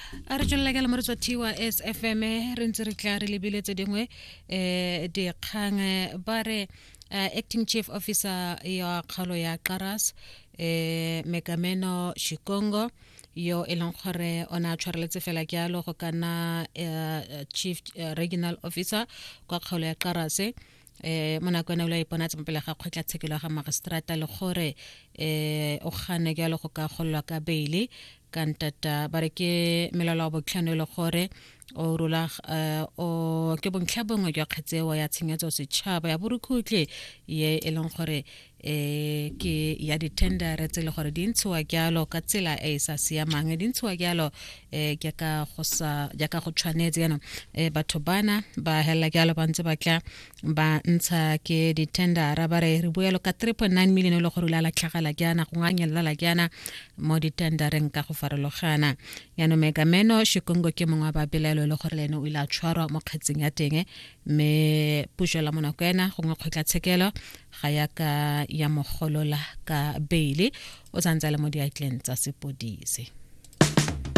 A re tswelela ka lemore tswa thiwa SFM, re ntse re tla re lebile tse dingwe dikgang. Ba re acting chief officer ya kgaolo ya Qaras, Mekameno Shikongo, yo e leng gore o ne a tshwareletse fela jalo go ka nna chief regional officer kwa kgaolo ya Qarase, mo nako ena o ile a iponatsa mo pele ga kgotlatshekelo ya ga magistrata le gore o gane jalo go ka gololwa ka beile ka ntata. Ba re ke melelo wa botlhano e le gore o rula o ke bontlha bongwe jwa kgetseo ya tshenyetso setšhaba ya borukhutlhi ye e leng gore ke ya di-tendere tse e le gore di ntshiwa jalo ka tsela e e sa siamang, di ntshiwa jalo jaaka go sa jaaka go tshwanetse. Jaanong batho bana ba helela jalo ba ntse ba tla ba ntsha ke di-tendera. Ba re re buelo ka 3.9 million e le gore o ile a latlhagela jaana go nganyelela jaana mo di-tendereng ka go farologana. Jaanong Megameno Shikongo ke mongwe wa babelaelo e le gore le ene o ile a tshwarwa mo kgetseng ya teng, mme puso la monako ena gongwe kgotlatshekelo ga ya ka ya mogolola ka beile, o santse a le mo diatleng tsa sepodisi.